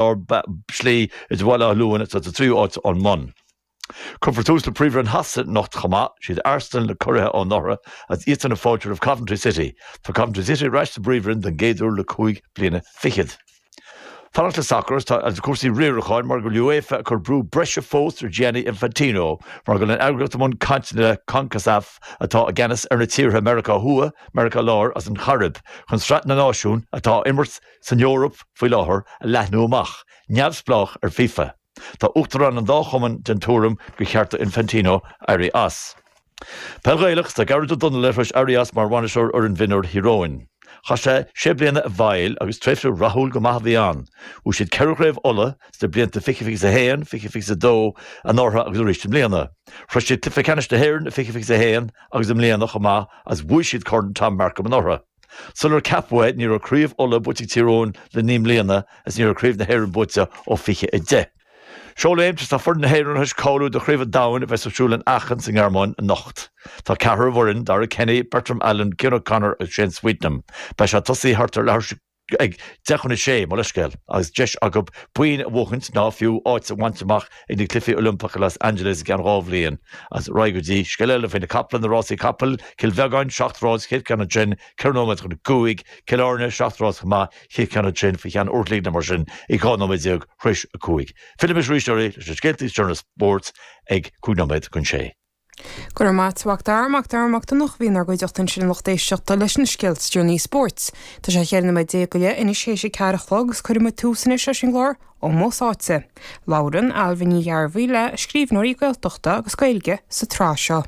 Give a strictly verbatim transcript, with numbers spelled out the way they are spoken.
lár slí idir Bhaile Átha Luain atá sa tríú áit ón mbun. Cuirfear tús le Príomhroinn Shasana anocht chomh maith, siad Arsenal na curaithe ó anuraidh agus iadsan ag fáiltiú roimh Coventry City. Tá Coventry City ar ais sa bPríomhroinn den gcéad uair le cúig bliana fichead. Fanacht le sacar tá agus cúrsaí riaracháin mar go bhfuil UEFA ag cur brú breise fós ar Gianni Infantino mar go bhfuil an eagraíocht i mbun cainteanna le CONCACAF atá i gceannas ar na tíortha Meiriceá Thuaidh, Meiriceá Láir agus an Chairib chun Sraith na Náisiún atá á imirt san Eoraip faoi láthair a leathnú amach, neamhspleách ar FIFA. Tá uachtaráin an dá chumann den tuairim gur cheart do Infantino éirí as. Peil Ghaelach tá Gearóid Ó Donnaile tar éis éirí as mar bhainisteoir fhoireann mhionúir Thír Eoghain. Chaith sé sé bliana i bhfeighil agus tréimhse rathúil go maith a bhí ann. Bhuaigh siad ceithre chraobh Uladh sna blianta fiche fiche a haon, fiche fiche a dó anuraidh agus arís i mbliana. Shroich siad cluiche ceannais na hÉireann i fiche fiche a haon agus i mbliana chomh maith agus bhuaigh siad Corn Tom Markham anuraidh. Sular ceapadh é ní raibh craobh Uladh buaite ag Tír Eoghain le naoi mbliana is ní raibh craobh na hÉireann buaite ó fiche a deich. Seoléim tá foireann na hÉireann tar éis cáiliú do Chraobh an Domhain a bheas ar siúl in Aachen sa nGearmáin anocht. Tá ceathrar ar an bhfoireann, Darragh Kenny, Bertram Allen, Cian O'Connor agus Shane Sweetnam. Beidh sé tosaithe thart ar leathuair ag deich chun a sé mo leithscéal agus deis acu boinn a bhuachaint ná fiú áit a bhaint amach ag na Cluichí Oilimpeacha Los Angeles i gceann dhá bhliain. Agus ar aghaidh go dtí scéal eile faoi na capaill na rásaí capall, Cill Bheagáin seacht rás chéad ceann ansin, ceithre nóiméad chun a cúig, Cill Airne seacht rás chomh maith, chéad ceann ansin faoi cheann uair an chloig mar sin ag dhá nóiméad déag tar éis a cúig. Fillfimid arís oraibh leis na scéalta is deireanaí spóirt ag cúig nóiméad chun sé. Go raibh maith agat a Mhac Dara Mac Dara Mac Donncha bhí inár gcuideachta ansin lucht éisteachta leis na scéalta is deireanaí spóirt. Tá sé cheithre nóiméad déag go leith anois théis a ceathair a chlog agus cuirfidh muid tús anois leis an gclár Ómós Áite. Labhrann Ailbhe Ní Ghearbhuigh le scríbhneoirí Gaeltachta agus Gaeilge sa tsraith seo.